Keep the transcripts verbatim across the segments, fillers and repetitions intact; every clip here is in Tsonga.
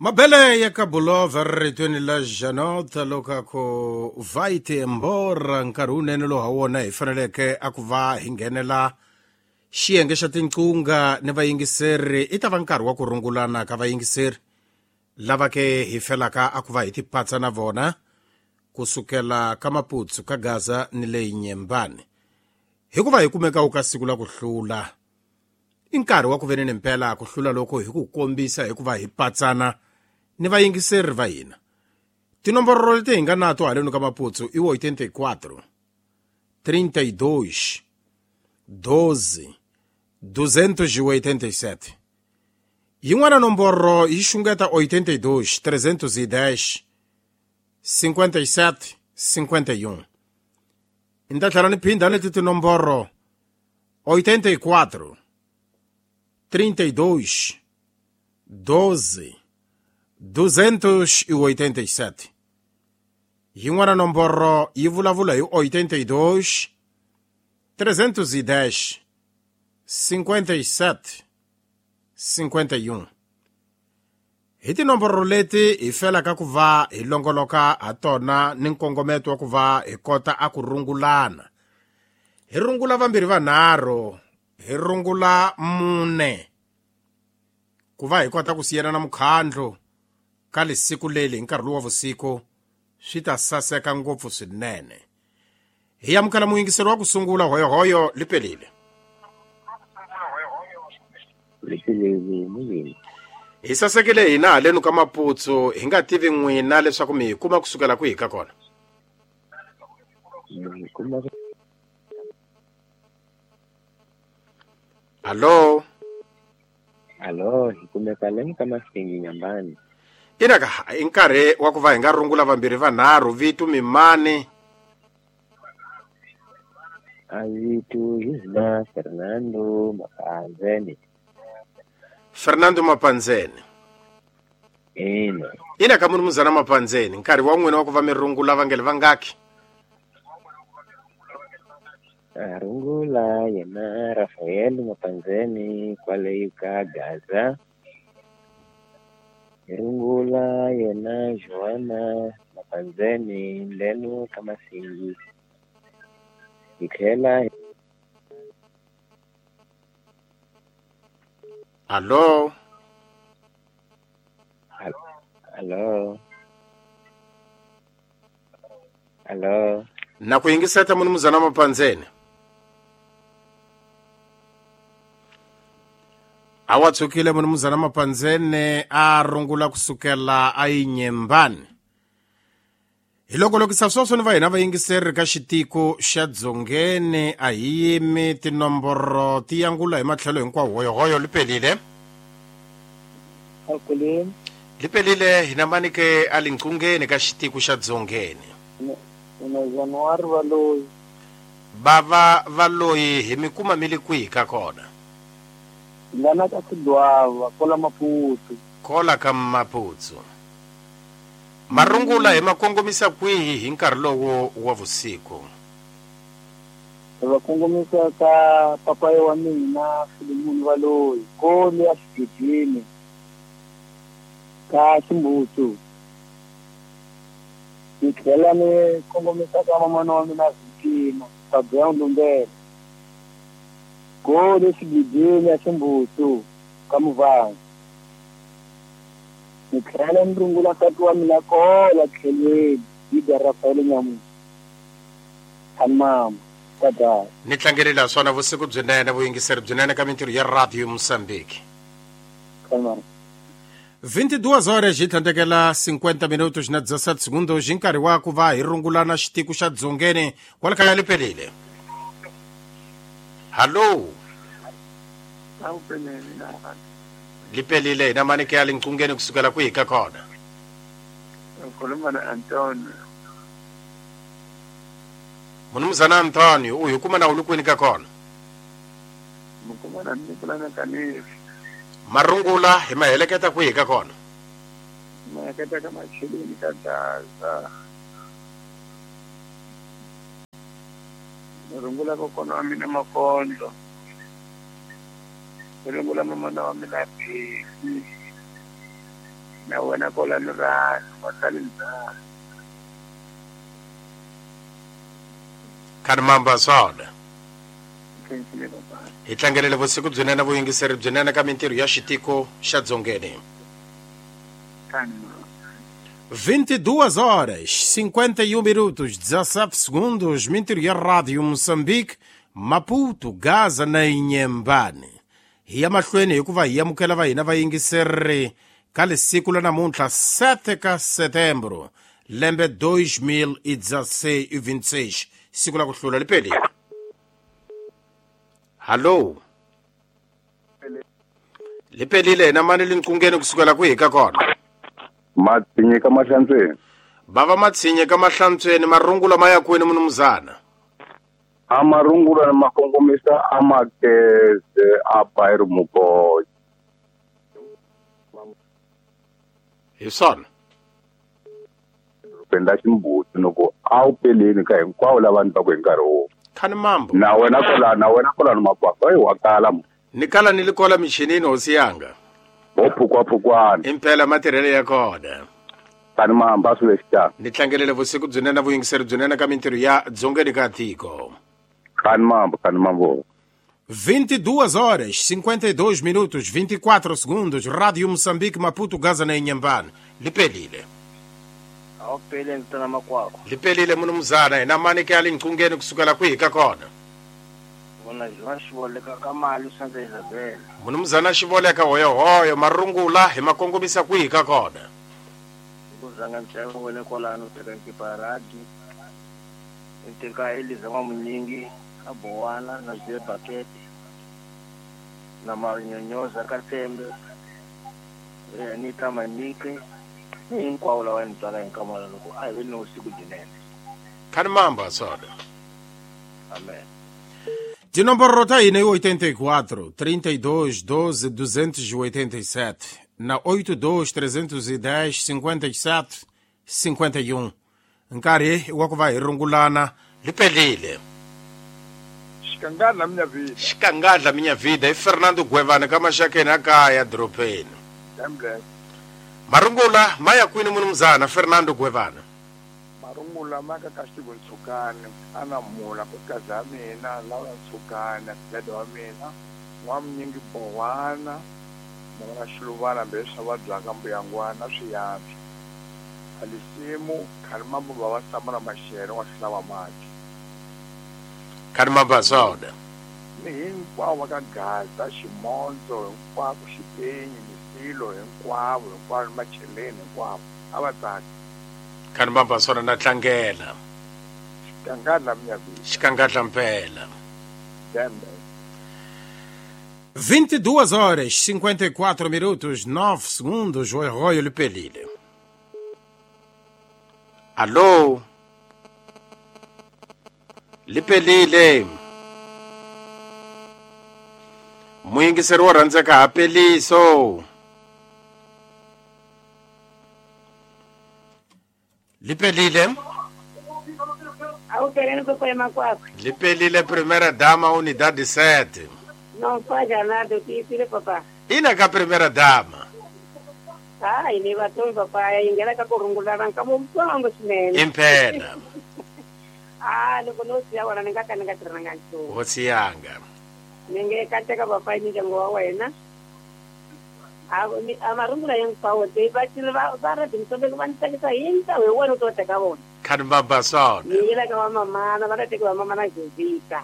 Mabele ya Kabulova ritweni la Janota lokako vaite embora nkarhi wunene lowu ha wona hi faneleke a ku va hi nghenela xiyenge xa tinqunga ni vayingiseri. I ta va nkarhi wa ku rungulana ka vayingiseri lava ke hi felaka a ku va hi tipatsa na vona kusukela ka Maputsu ka Gaza ni le Nyembani, hikuva hi kumeka ka siku la ku hlula. I nkarhi wa ku veneni mpela ku hlula loko hi ku kombisa hikuva hi patsana ni vayingiseri va hina. Tinomboro leti hi nga nato haleni ka Maputsu i oitenta e quatro trinta e dois doze duzentos e oitenta e sete. Yin'wana nomboro yi xungeta oitenta e dois trezentos e dez cinquenta e sete cinquenta e um. Ni ta tlhela ni phinda leti tinomboro: oitenta e quatro trinta e dois doze duzentos e oitenta e sete. Yin'wana nomboro yi vulavula hi oitenta e dois trezentos e dez cinquenta e sete cinquenta e um. Hi tinomboro leti hi felaka ku va hi longoloka ha tona ni nkongometo wa ku va hi kota a ku rungulana. Hi rungula vambirhi vanharhu, hi rungula mune, ku va hi kota ku siyana na mukhandlu ka lesiku leli hi nkarhi lowu wa vusiku. Swi ta saseka ngopfu swinene. Hi amukela muyingiseri wa ku sungula. Hoyohoyo, lipelile. Lipelile muyini. Hi sasekile hina haleni ka Maputsu. Hi nga tivi n'wina leswaku mi hi kuma kusukela kwihi ka kona? Mi kuma. Hallo? Alo, hi kumeka leni ka Masingi, Nyambani. Ina ka i nkarhi wa ku va hi nga rungula vambirhi vanharhu. Vito mimani? A vito hi hina Fernando Mapanzeni. Fernando Mapanzeni? Ina. Ina ka munumuzana Mapanzeni, nkarhi wa n'wina wa ku va mi rungula vangele vangaki? A rungula yena Rafael Mapanzeni kwale ka Gaza. Hi rungula yena Joana Mapanzeni leno ka Masingi. Hi tlhela. Hallo? Alo. Alo. Na ku yingiseta, munumuzana Mapanzeni. A wa tshukile munumuzana Mapanzeni a rungula kusukela a Yinyembani. Hi loko lokisa sweswo ni va hina vayingiseri ka xitiko xa Dzongeni a hi yimi, tinomboro ti yangula hi matlhelo hinkwawo. Hoyohoyo, lipelile. Akuleni. Lipelile, hina mani ke a linqungeni ka xitiko xa Dzongeni? Ina January Valoyi. Bava Valoyi, hi mi kuma mi li kwihi ka kona? Lana ka Sidwava, kola Maputo. Kola ka Maputsu. Marungula hi ma kongomisa kwihi hi nkarhi lowo wa vusiku? Va kongomisa ka papayi wa mina Filimoni Valoyi kole ya xigidini ka Ximbutu. Ni tlhela ni kongomisa ka mamana wa mina Vikima Fabian Lumbele kole xigidini ya Ximbutu ka Muvhango. Ni tlhela ni rungula nsati wa mina kola tlhelweni Ida Rafael Nyamusi mama tadaya. Ni tlangelela swona. Vusiku byinene, vuyingiseri byinene ka mintirho ya Radio Mozambique. Kalmar. vinte e duas horas hi tlhandlekela cinquenta minutos na dezessete segundos, hi nkarhi wa ku va hi rungulana xitiko xa Dzongeni kwala kaya. Lipelile, hallo? Lipelile, hina mani ke ya linqungeni kusukela kwihi ka kona? Ngikhuluma na-Antonio. Munumuzana Antonio, u hi kuma na u li kwini ka kona? Ngikhuluma na Nikolana Kanisi. Marungula hi ma heleketa kwihi ka kona? Maketa ka macheleni ka Gaza. Ni rungula kokwana wa mina Makondlo. Ni rungula mamana wa mina Phesi. Na wena kolani ra masalindza. Khani mamba swona. Khensile papa. Hi tlangelele vusiku byinene vuyingiseri byinene ka mintirho ya xitiko xa Dzongeni. Khani mamba. vinte e duas horas, cinquenta e um minutos, dezassete segundos, mintirho ya Rádio Moçambique, Maputo, Gaza na Inhambane. Hi ya mahlweni hikuva hi amukela va hina vayingiseri ka lesiku la namuntlha sete ka setembro lembe dois mil e dezasseis e vinte e seis, siku la ku hlula lipelile. Hallo. Lipelile na mani linqungeni kusukela kwihi ka kona? Matsinye ka mahlantsweni. Bava matsinye ka mahlantsweni marungula ma ya kwini munumuzana? A marungula ma kongomisa a makeze a bayiri muboyi. Hi swona. Penda ximbuti loko a wu peleni ka hinkwavo lava ni va ku hi nkarhi wo. Khani mambo. Na wena kola na wena kola ni makwakwa wa kala. Ni kala ni likola michinini hosi yanga. Phukwa-phukwana. Impela matirhelo ya kona. Tani mahamba swilo lexi. Ni tlangelele vusiku byinene vuyingiseri byinene ka mintirho ya Dzongeni ka tiko. Khani mambo, khani mambo. vinte e duas horas, cinquenta e dois minutos, vinte e quatro segundos, Rádio Moçambique, Maputo, Gaza na Inhambane. Lipelile. Awupele ntana makwakwa. Lipelile munumuzana, hina mani ke alinqungeni kusukela kwihi ka kona? Vona Joan Xivoleka ka mali Santa Isabel. Munumuzana Xivoleka hoyo hoyo marungula hi makongomisa kwihi ka kona? Kuzanga mtshako wele kolano teka nkiparadi. Nteka Eliza wa munyingi abowana na zwe bucket. Na manyonyoza katembe. Anita Manike. Hinkwavo lava ni twaka hi nkamala loko a hi ve ni usiku byinene. Khani mamba soda. Amen. Tinomboro ta hina i oitenta e quatro, trinta e dois, doze, duzentos e oitenta e sete na oito dois, trezentos e dez, cinquenta e sete, cinquenta e um. Nkarhi wa ku va hi rungulana lipelile. Xikangadla minha vida. Xikangadla minha vida i Fernando Gwevane ka maxakeni a kaya doropeni. Marungula maya kwini munumuzana Fernando Gwevane. Marungula maka ka xitivo Ntshukane ana mula nkosikazi ya mina Laura Ntshukane dada wa mina n'wamunyingi Bowana na vana Xiluvana hambileswi va vabyaka mbuyangwana swiyantswa Alisimu khani mambo va va Samura Maxere wa xihlava mati khani mambo soda ni hinkwavo va ka Gaza Ximondzo hinkwako Xipenyi Misilo hinkwavo hinkwavo ni Macheleni hinkwavo a va tsaki khani mambo sona na tlangela xikangadla minha vida xikangadla mpela dembe. vinte e duas horas, cinquenta e quatro minutos, nove segundos, o Arroio Lipelile. Alô? Lipelile. Muyingiseri wo rhandzeka ha peliso. Lipelile. Awupeleni koko makwakwa. Lipelile primeira dama unidade sete. Não faz nada, eu te papá. Ina ka primeira dama. Ai, ni vatombi papá, ingela ka kurungulana ka mumtsongo swinene. Impela. Ah, loko no siya wona ni nga ka ni nga tirhanga nchumu. Hosi yanga. Ni nge kateka papá ni ndyangu wa wena. A ni a marungula hinkwawo te va va va ra timsombe va ni tsakisa hi ntlawa hi wona u to teka vona. Khani baba sona. Ni yela ka va mamana, va ta teka va mamana Jovita.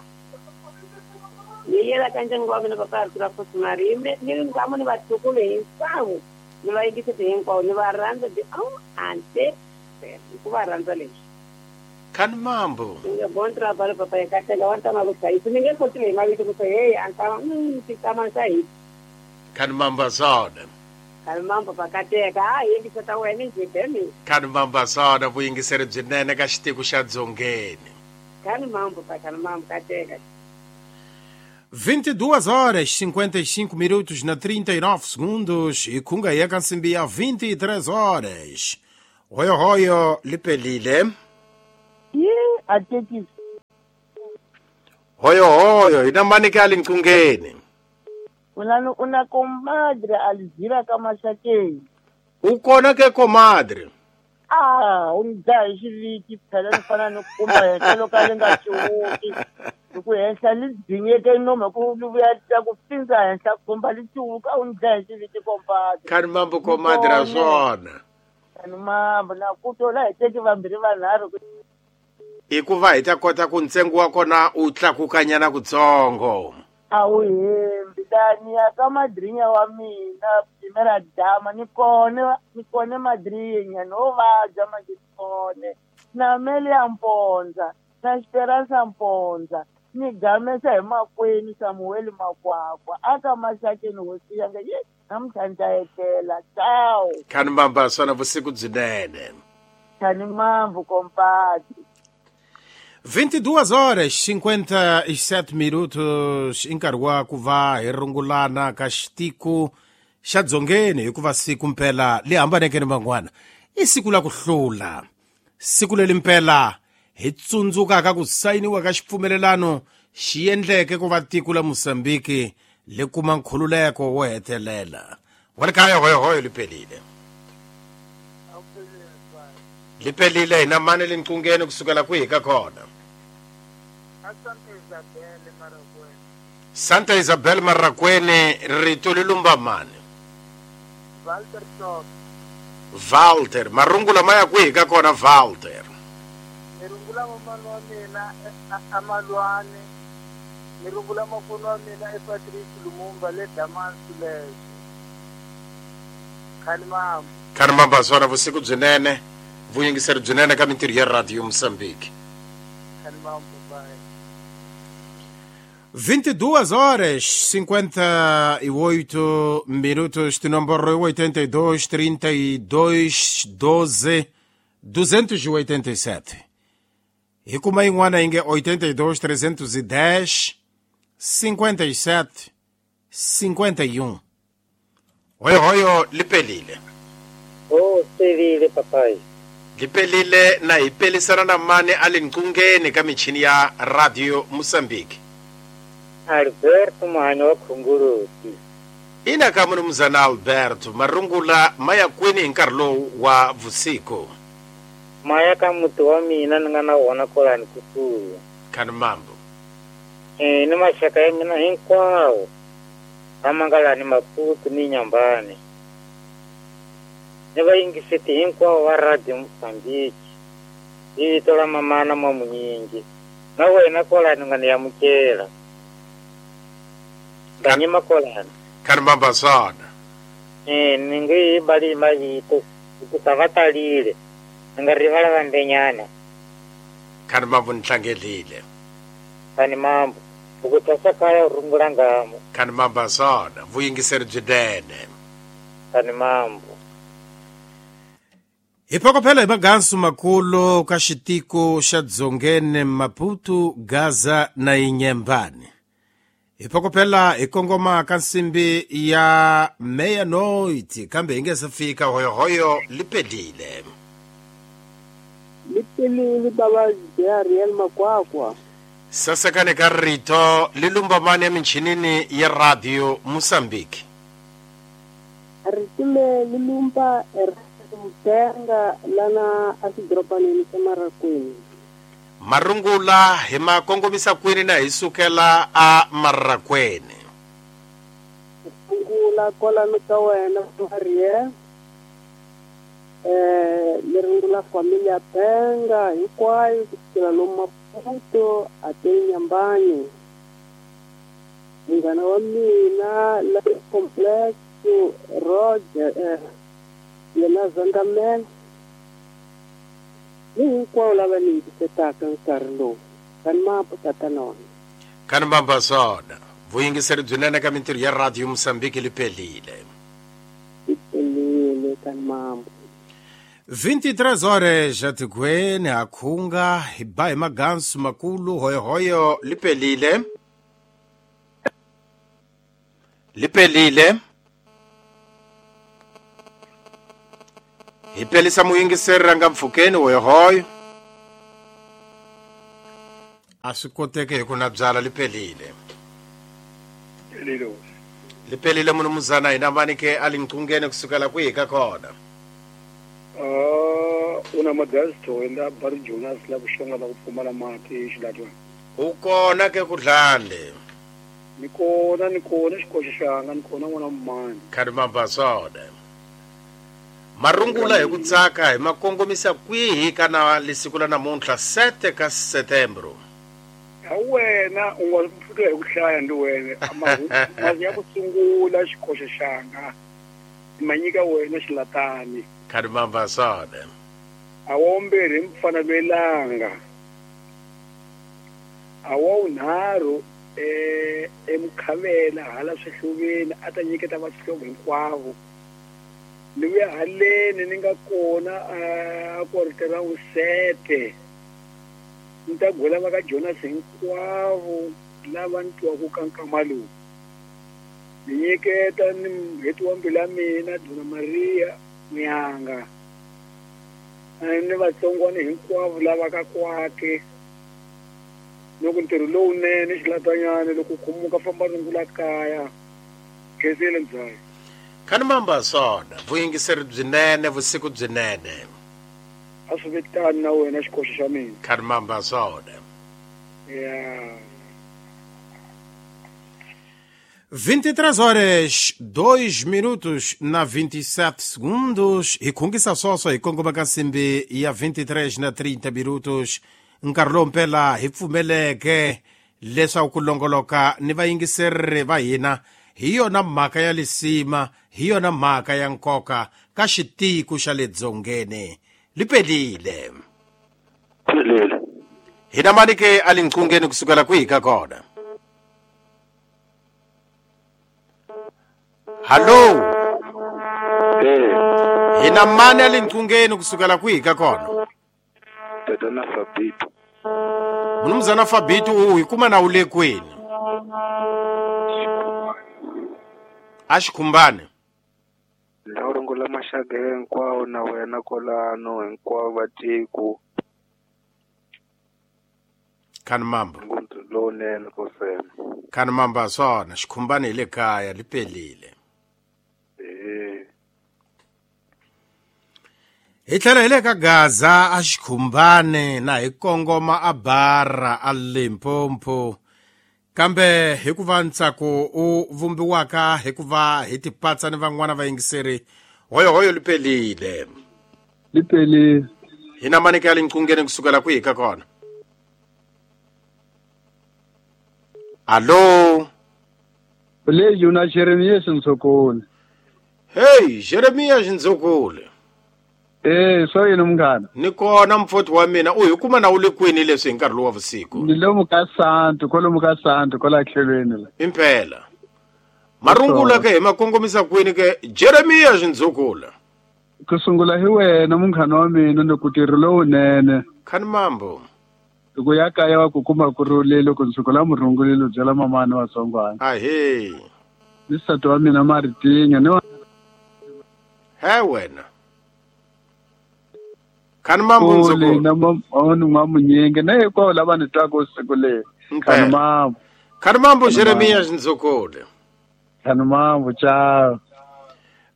Ni yela ka ndyangu wa mina papa Arthur Afosimari ni nkwamo ni vatukulu hinkwavo ni va yingisete hinkwavo ni va rhandza ti oh ante ku va rhandza leswi. Khani mambo. Ni nge bon trabalho papa ekateka wa ntama ku hlayisa ni nge koti hi mavito ku hey antama mm titama sa hi. Khani mambo sona. Khani mambo pakateka a yingiseta wena njhe bemi. Khani mambo sona vuyingiseri byinene ka xitiko xa Dzongeni. Khani mambo pa khani mambo kateka. vinte e duas horas, cinquenta e cinco minutos na trinta e nove segundos e kunga yeka nsimbi ya vinte e três horas. Hoyo hoyo lipelile. Ye atekisi. Hoyo hoyo inamani ka linkungeni. Una una comadre Alzira ka Mashakeni. U kona ke comadre? Ah, u ni dlaya hi xiviti phela ni fana ni kuma henhla loko a li nga ciwuki. Hi ku henhla li dzinyeke nomu hi ku li vuya ta ku pfindza henhla khumba li ciwuka u ni dlaya hi xiviti compadre. Khani mambo comadre a swona. Khani mambo na ku tola hi teki vambirhi vanharhu. Hikuva hi ta kota ku ntsengo wa kona u tlakukanyana kutsongo. A wu hembi tani ya ka madrinya wa mina primera dama ni kone ni kone madrinya no vabya manje ni kone na mele ya Mponza na Esperanza Mponza ni gamesa hi makwenu Samuel Makwakwa aka Maxakeni hosi yanga ye namuntlha ni ta etlela ciao. Khani mamba swona vusiku byinene. Khani mambo compadre. vinte e duas horas cinquenta e sete minutos i nkarhi wa ku va hi rungulana ka xitiko xa dzongeni hikuva siku mpela li hambaneke ni van'wana i siku la ku hlula siku leri mpela hi tsundzukaka ku sayiniwa ka xipfumelelano xi endleke ku va tiko la Mozambique li kuma nkhululeko wo hetelela wa le kaya hoyohoyo li pelile li pelile hina mani le nqungeni kusukela kwihi ka kona? Santa Isabel Marraquene rito li lumba mani? Walter Top. Walter marungula ma ya kwihi ka kona Walter? Ni rungula mamani wa mina amalwane ni rungula makunu wa mina e Patrick Lumumba le Damansulezo. Khani mambo. Khani mambo swona vusiku byinene vuyingiseri byinene ka mintirho ya Radio Mozambique. vinte e duas horas cinquenta e oito minutos de número oitenta e dois, trinta e dois, doze, duzentos e oitenta e sete. Hi kuma yin'wana yi nge oitenta e dois, trezentos e dez, cinquenta e sete, cinquenta e um. Hoyohoyo li pelile. Oh, pelile papai. Lipelile na hi pelisana na mani a le nqungeni ka michini ya Radio Mozambique. Alberto Muhanyo wa Khunguluti. Ina ka munumuzana Alberto marungula maya kwini hi nkarhi lowu wa vusiku? Maya ka muti wa mina ni nga na wona kwalani kusuhi. Khani mambo. Eh, ni maxaka ya mina hinkwawo lama nga lani Maputo ni Nyambani. Ni vayingiseti hinkwavo va Radio Mozambique hi vito la mamana Mwamunyingi na wena kwalani nga ni amukela ndanyima kwalani. Khani mamba swona. Eh, ni nge yi bali mavito hikusa va talile ni nga rivala vandenyana. Khani mambo ni tlangelile. Khani mambo ukuthwasa kaya u rungula ngamo. Khani mamba swona vuyingiseri byinene. Khani mambo. Hi phokophela hi magansu makulu ka xitiko xa dzongeni Maputo, Gaza na Inyembani. Hi phokophela hi kongoma ka nsimbi ya meia-noite kambe hi nge se fika hoyohoyo li pelile. Li pelile baba Ariel Makwakwa. Sasekane ka rito li lumba mani eminchinini ya Radio Mozambique. Rito le li lumba Mtenga lana asidropaneni xa Marraquene. Marungula hi ma kongomisa kwini na hi sukela a Marraquene? Rungula kwalano ka wena Ariel. Eh, ni rungula familia Penga hinkwayo kusukela lomu Maputo a te Nyambani. Munghana wa mina la complex Roger eh, yena Zandaman ni hinkwavo lava ni yingisetaka nkarhi lowu. Khani mambo tatana wa mina. Khani mamba swona vuyingiseri byinene ka mintirho ya Radio Mozambique li pelile. Li pelile khani mambo. vinte e três horas atikweni akhunga hi ba hi magansu makulu hoyohoyo li pelile. Li pelile. Hi pelisa muyingiseri ranga mpfhukeni hoyohoyo. A swi koteki hi ku na byala li pelile. Li pelile munumuzana hina mani ke a li nqungeni kusukela kwihi ka kona? una magasto enda Bar Jonas la kushonga la kupfumala mati xilatwana. U kona ke ku dlande. Ni kona ni kona xikoxo xanga ni kona n'wana mani. Kharimamba swona. Marungula hi ku tsaka hi makongomisa kwihi kana lesiku la namuntlha sete ka Setembro. Ya wena u nga pfuka hi ku hlaya ndi wena mazi ya ku sungula xikoxo xanga manyika wena xilatani. Kharimamba swona. A wa mbirhi mfana lwelanga. A wa unharhu eh emkhavela hala swihluveni a ta nyiketa vaxihlovo hinkwavo. Ni vuya haleni ni nga kona a quarter usete. Ni ta gwela va ka Jonas hinkwavo lava ni twaku ka nkama lowu. Ni nyiketa ni mheti wa mbilu ya mina Dona Maria Muyanga. Ni vatsongwana hinkwavo lava ka kwake. Loko ntirho lowunene xilatanyana loko khumuka famba rungula kaya. Khensile mzaya. Kharimamba swona vuyingiseri byinene vusiku byinene. A swi vitani na wena xikoxo xa mina. Kharimamba swona. Yeah. vinte e três horas, dois minutos na vinte e sete segundos. Hi khungisa swoswo hi kongoma ka nsimbi ya vinte e três na trinta minutos. Nkarhi lowu mpela hi pfumeleke leswaku ku longoloka ni vayingiseri va hina hi yona mhaka ya lisima, hi yona mhaka ya nkoka ka xitiko xa le dzongeni. Lipelile. Pelile. Hina mani ke a linqungeni kusukela kwihi ka kona? Hallo. Eh. Hina mani a linqungeni kusukela kwihi ka kona? Tatana Fabito. Mnumzana Fabito u hi kuma na u le kwini? A xikhumbane. Ndzi maxaka hinkwawo na wena kolano hinkwavo va tiko. Kharimamba. Lowunene kosena. Kharimamba swona xikhumbane hi le kaya li pelile. Eh. Hi tlhela hi le ka Gaza a xikhumbane na hi kongoma a Bara a Limpopo. Kambe hikuva ntsako u vumbiwaka hikuva hi tipatsa ni van'wana vayingiseri hoyo hoyo lipelile. Lipelile. Hina mani ka linqungeni kusukela kwihi ka kona? Allo. Le yuna Jeremias Nzokole. Hey, Jeremias Nzokole. Eh, so yini munghana? Ni kona mfoti wa mina u hi kuma na u le kwini leswi hi nkarhi lowu wa vusiku? Ni lomu ka Santu, kwalomu ka Santu, kwala tlhelweni la. Impela. Marungula ke hi makongomisa kwini ke Jeremias Nzokole. Ku sungula hi wena munghana wa mina ni ku tirho lowunene. Kharimambo. Loko ya kaya wa ku kuma ku rhulile loko nsuku la murungulile byela mamani wa tsongwana. Ahee. Ni nsati wa mina Maritinya ni wa He wena. Kharimambo Nzokole. Na ni n'wamunyingi na hinkwavo lava ni twaka siku leri. Kharimambo. Kharimambo Jeremias Nzokole. Kharimambo, tchau.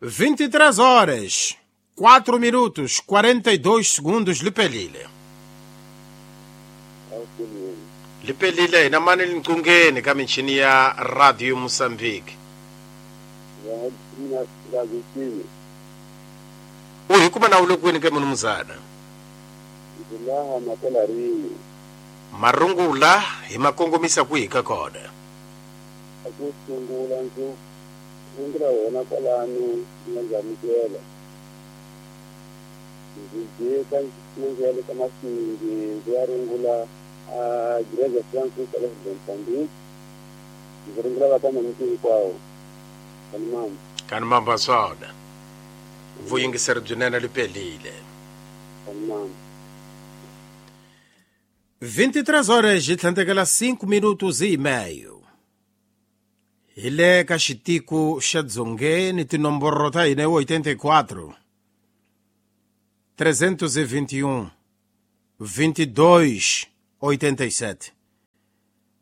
vinte e três horas, quatro minutos, quarenta e dois segundos, lipelile. Lipelile hina mani linqungeni ka michini ya Radio Mozambique. U hi kuma na u le kwini ke munumuzana? Marungula hi makongomisa kwihi ka kona? Ku sungula ndzi rungula wena kwalano ni nga amukela. Ndzi jika ndzi ya le ka Masingi ndzi ya rungula a Igreja Francis la Mozambique. Ndzi rungula va ka mamiti hinkwawo. Kharimamba. Kharimamba swona. Vuyingiseri byinene lipelile. Kharimamba. vinte e três horas e tlhandlekela cinco minutos e meio. Hi le ka xitiko xa dzongeni tinomboro ta hina i oitenta e quatro, trezentos e vinte e um, vinte e dois, oitenta e sete,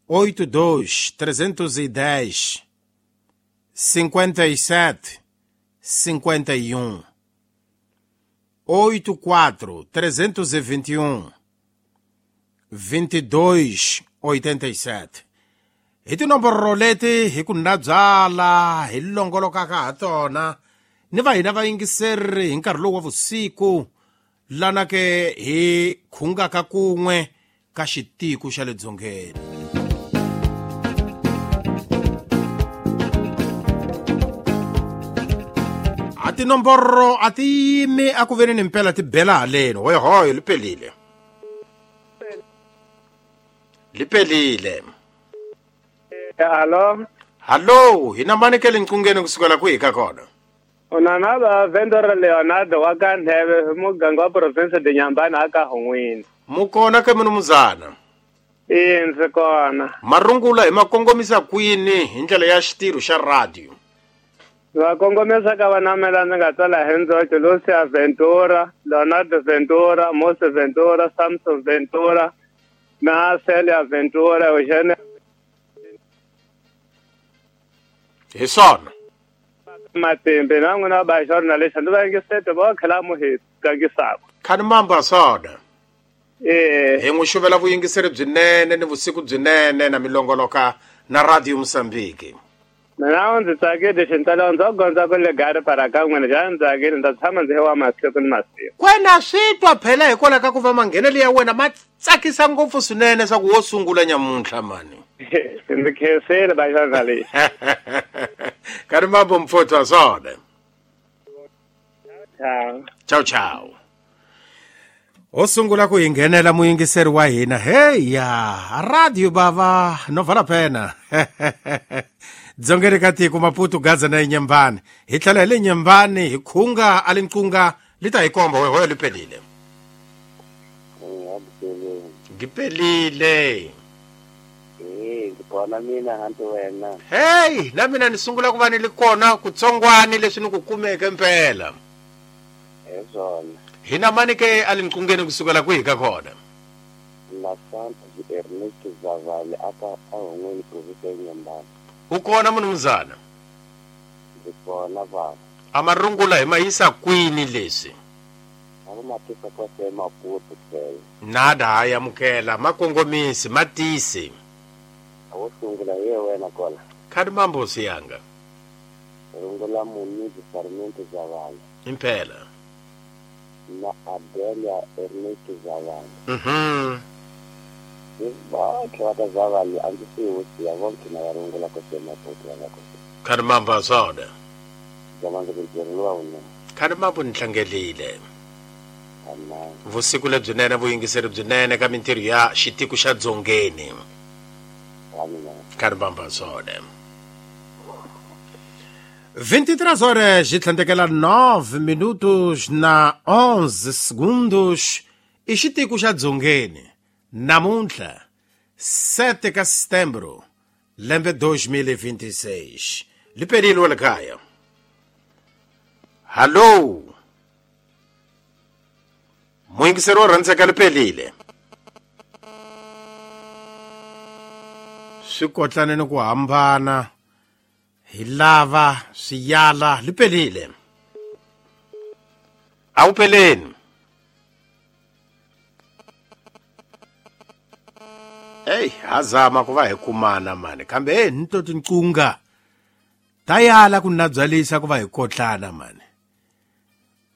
oito dois, trezentos e dez, cinquenta e sete, cinquenta e um, oito quatro trezentos e vinte e um vinte e dois oitenta e sete. Hi tinomboro leti hi ku nabyala hi longolokaka ha tona ni va hina vayingiseri hi nkarhi lowu wa vusiku lana ke hi khungaka kun'we ka xitiko xa le dzongeni. A tinomboro a ti yimi a ku veni ni mpela ti bela haleni. Hoyohoyo li pelile, li pelile. Hello. Hello, hina mani ke le nqungeni kusukela kwihi ka kona? Unana ba Vendor Leonardo wa ka Ndheve muganga wa province de Nyambani aka Hongwini. Mukona ke munumuzana? E ndzi kona. Marungula hi makongomisa kwini hi ndlela ya xitirho xa radio? Va kongomisa ka vanamela ndzi nga tsala hi ndzoxe Lucia Ventura, Leonardo Ventura, Mose Ventura, Samson Ventura na Celia Ventura, Eugene. Hi swona. Matimbe na n'wina ba journalist ndzi va yingisete va khela mu hi tlangisaka. Khani mamba swona. Eh hi n'wi xuvela vuyingiseri byinene ni vusiku byinene na milongoloka na Radio Mozambique. Mina ndzi tsakile xintalo ndzi gondza ku le gari para ka n'wina xa ndzi tsakile ndza tshama ndzi wa masiku ni masiku. Kwena swi twa phela hikwalaho ka ku va manghenelo ya wena ma tsakisa ngopfu swinene swa ku wo sungula nyamuntlha mani. Ndzi khensile ba journalist. Kari mambo mfotho wa swona. Ciao. Ciao ciao. O sungula ku hi nghenela muyingiseri wa hina. Hey ya, radio bava no vala pena. Dzongeni ka tiko Maputo Gaza na Nyambani. Hi tlhela hi le Nyambani hi khunga a le nqunga li ta hi komba hoyo li pelile. Ngipelile. Eh, ngibona mina hanti wena. Hey, na mina ni sungula ku va ni li kona kutsongwani leswi ni ku kumeke mpela. Ezona. Hina mani ke a le nqungeni kusukela kwihi ka kona? La Santa Ernest Zavale aka a Hongweni province ya Nyambani. U kona munumuzana? Ndzi kona baba. A marungula hi ma yisa kwini leswi? A va matisa kwase Maputo tlhela. Nada ha yamukela makongomisi matisi. A wo sungula ye wena kona. Khadi mambo siyanga. Rungula Munizi Sarmiento Zavale. Impela. Na Adelia Ernest Zavale. Mhm. Bonke va ka Zavale a ndzi swi wusiya vonke na va rungula kwase Maputo va nga kose. Khadi mambo swona. Jamani ntirho lowa wunene. Khadi mambo ni tlangelile. Vusiku lebyinene vuyingiseri byinene ka mintirho ya xitiko xa dzongeni. Khadi mambo swona. vinte e três horas e tlhandekela nove minutos na onze segundos. I xitiko xa dzongeni. Namuntlha sete ka setembro lembe dois mil e vinte e seis. Liperile wa le kaya. Hallo. Muyingiseri wo rhandzeka lipelile. Swi kotlane ni ku hambana hi lava swiyala lipelile. A wu peleni. Hey, hazama ku va hi kumana mani kambe hey ni to tinqunga ta yala ku nabyalisa ku va hi kotlana mani.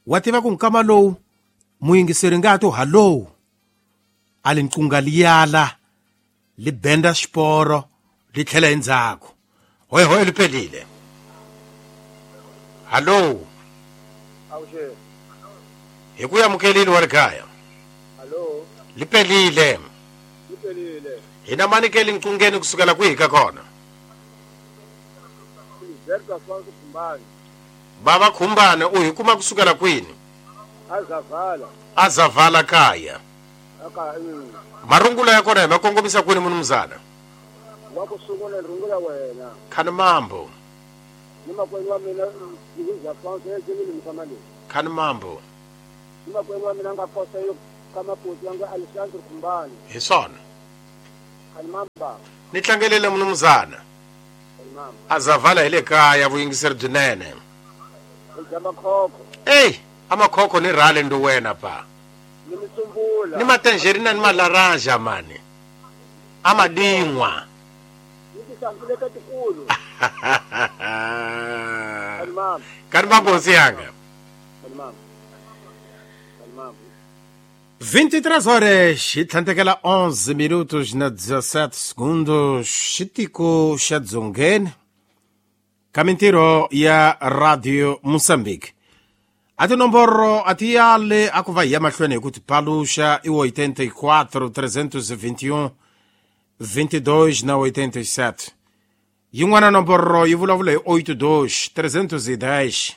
Wa tiva ku nkama lowu muyingiseri nga to hallo a li nqunga liyala li benda xiporo li tlhela endzhaku. Hoy hoy lipelile. Hallo. Awushe. Hi ku yamukelile wa ri kaya. Hallo. Lipelile. Lipelile. Hina mani ke le nqungeni kusukela kwihi ka kona? Baba Khumbane u hi kuma kusukela kwini? Azavala. Azavala kaya. Aka mm. Marungula ya kona hi ma kongomisa kwini munumuzana? Wa ku sungula rungula wena. Khani mambo. Ni makwenu wa mina Luis Afonso e ni msamali. Khani mambo. Ni makwenu wa mina nga kosa yo kama poti yanga Alexandre Khumbane. Hi swona. Khani mamba. Ni tlangelele munumuzana. Azavala hi le kaya vuyingiseri byinene. Jama khokho. Ey, Amakhokho ni rhale ndo wena pa. Ni misumbula. Ni matangerina ni malaranja mani. Amadingwa. Ni tisankuleka tikulu. Kalimama. Kalimama nkosi yanga. Kalimama. Kalimama. vinte e três horas e tlhantekela onze minutos na dezessete segundos. Xitiko xa Dzongeni ka mintirho ya Radio Moçambique. A tinomboro a ti yale a ku va hi ya mahlweni hi ku ti paluxa i oitenta e quatro, trezentos e vinte e um, vinte e dois na oitenta e sete. Yin'wana nomboro yi vulavula hi oito dois, trezentos e dez,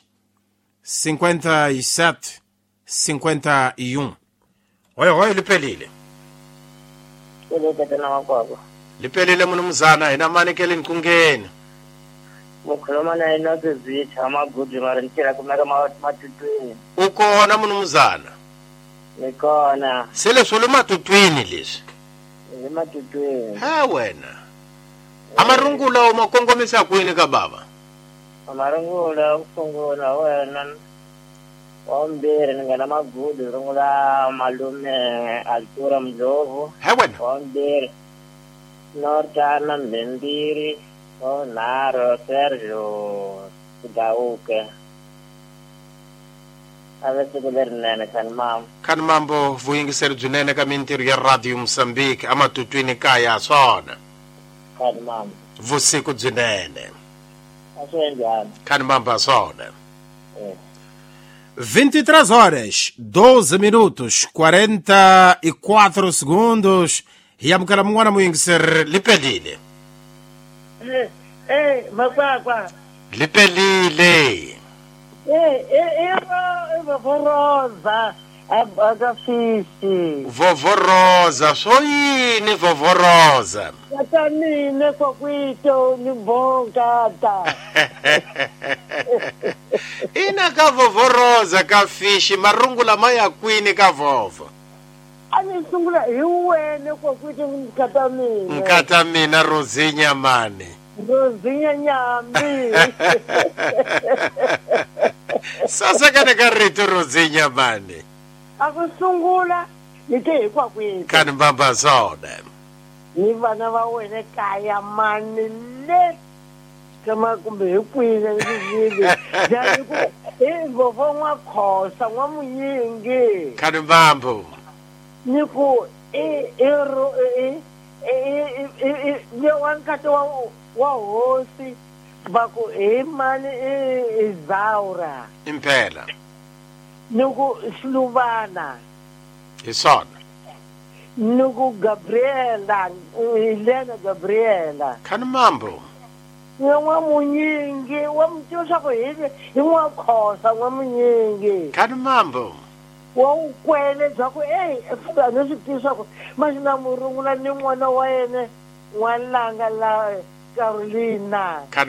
cinquenta e sete, cinquenta e um. Oi, oi, liphelile. Liphelile munumzana hina manikele nkungeni. Mukhuluma na yena Zizitha amagudi mara nitshela kumeka matutwini. Ukona munumzana? Nikona. Se leswi le matutwini leswi? Le matutwini. Ha wena. Amarungula uma kongomisa kwini ka baba? Amarungula usungula wena. Wambiri ni nga na magudi rungula malume Altura Mdlovu. Ha wena. Wambiri Nortana Mbembiri. Naro Sergio Kudauke. Ave siku lerinene kani mambo. Kani mambo vuyingiseri byinene ka mintirho ya Radio Moçambique amatutwini kaya swona. Kani mambo. Vusiku byinene. A swi njhani? Kani mambo swona. Eh. vinte e três horas, doze minutos, quarenta e quatro segundos. Hi amukela mun'wana muyingiseri liphelile. Eh, eh, makwakwa. Liphelile. Eh, eh, eh, vovoroza, akafisi. Vovoroza, swo yini vovoroza? Kata mina kwakwito ni bonkata. Ina ka vovoroza ka fishi marungula ma ya kwini ka vovo. A ni sungula hi wena kwakwito nkata mina. Nkata mina Rozinya mani. Rozinya nyambi. Sasa kana ka rito Rozinya mani. A ku sungula ni te hi kwakwito. Kani mbamba zona. Ni vana va wena kaya mani le kama kumbe hi kwini ni jani ku i vovo n'wakhosa n'wamunyingi. Kani mbambo. Ni ku i i i i i i wa nkati wa wa hosi va ku hi mani i Zaura. Impela. Ni ku Siluvana. Hi swona. Ni ku Gabriela, Helena Gabriela. Kani mambo. Ni n'wamunyingi wa mi tiva swa ku hi hi n'wakhosa n'wamunyingi. Kani mambo. Wa ukwele bya ku ey a ni swi tivi swa ku maxina murungula ni n'wana wa yena n'walanga la Carolina. Kani